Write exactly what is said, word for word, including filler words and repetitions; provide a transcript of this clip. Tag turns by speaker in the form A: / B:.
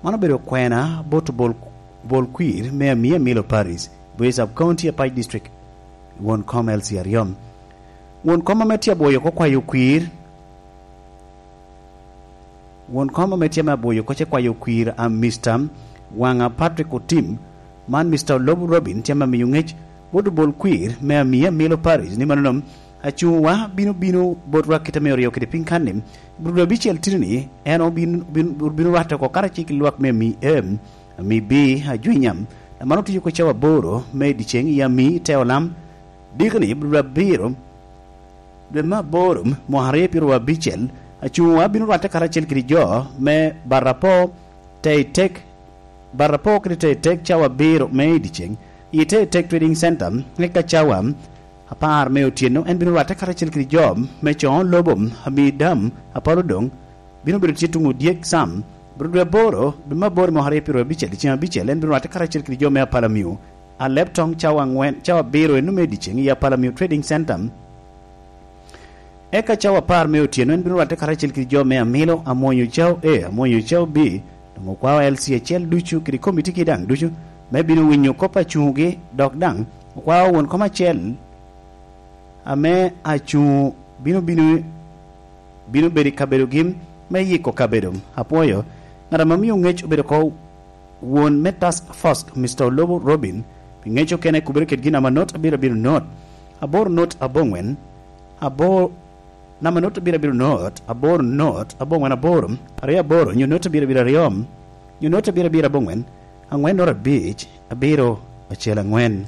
A: Mano obedo kwena bot bol, bol kwir me amia Milo Paris, Boyo Sub-County Apac District, won kom L C aryo. Won kom ame tye abwoyo ko kwayo kwir, won kom ame tye me abwoyo ko ce kwayo kwir a Mister Wanga Patrick Otim, man Mister Olobu Robin tye me amiyo ngec bot bol kwir me amia Milo Paris ni mano acunguwa bino bino bot rwak kite me oryo kede piny kanni budu abicel tini en obino bino rwatte oko karacel ki lwak me ami A, ami B ajwinya mano tiyo ko cawa aboro me dyeceng i ami te olam dikni budu abiro dwe me aboro mwaka aryo pyeraryo abicel acunguwa bino rwatte karacel kede jo me Barapo Teitek Barapo kede Teitek cawa abiro me dyeceng i Teitek Trading Center eka cawa apar me otyeno en bino rwatte karacel kede jo me congo lobo ami dam apalo dong bino bedo tye tung odyek sam budu dwe aboro dwe me aboro mwaka aryo pyeraryo abicel dyeceng abicel en bino rwatte karacel kede jo me apalamiu alep tong cawa angwen cawa abiro eno me dyeceng i apalamiu Trading Center eka cawa apar me otyeno en bino rwatte karacel kede jo me amilo amwonyo cao A amwonyo cao B dong okwao L C acel ducu kede komiti ki dang ducu me bino winyo kop acungugi dok dang okwao won kom acel ame acungu bino bino bino bedo i kabedogi me yiko kabedo apwoyo ngat ama miyo ngec obedo ko won me task force Mister Olobo Robin pi ngec okene kubedo kedgi namba not abiro abiro not aboro not abongwen aboro namba not abiro abiro not aboro not abongwen aboro aryo aboro nyo not abiro abiro aryo nyo not abiro abiro abongwen angwen not abic abiro acel angwen.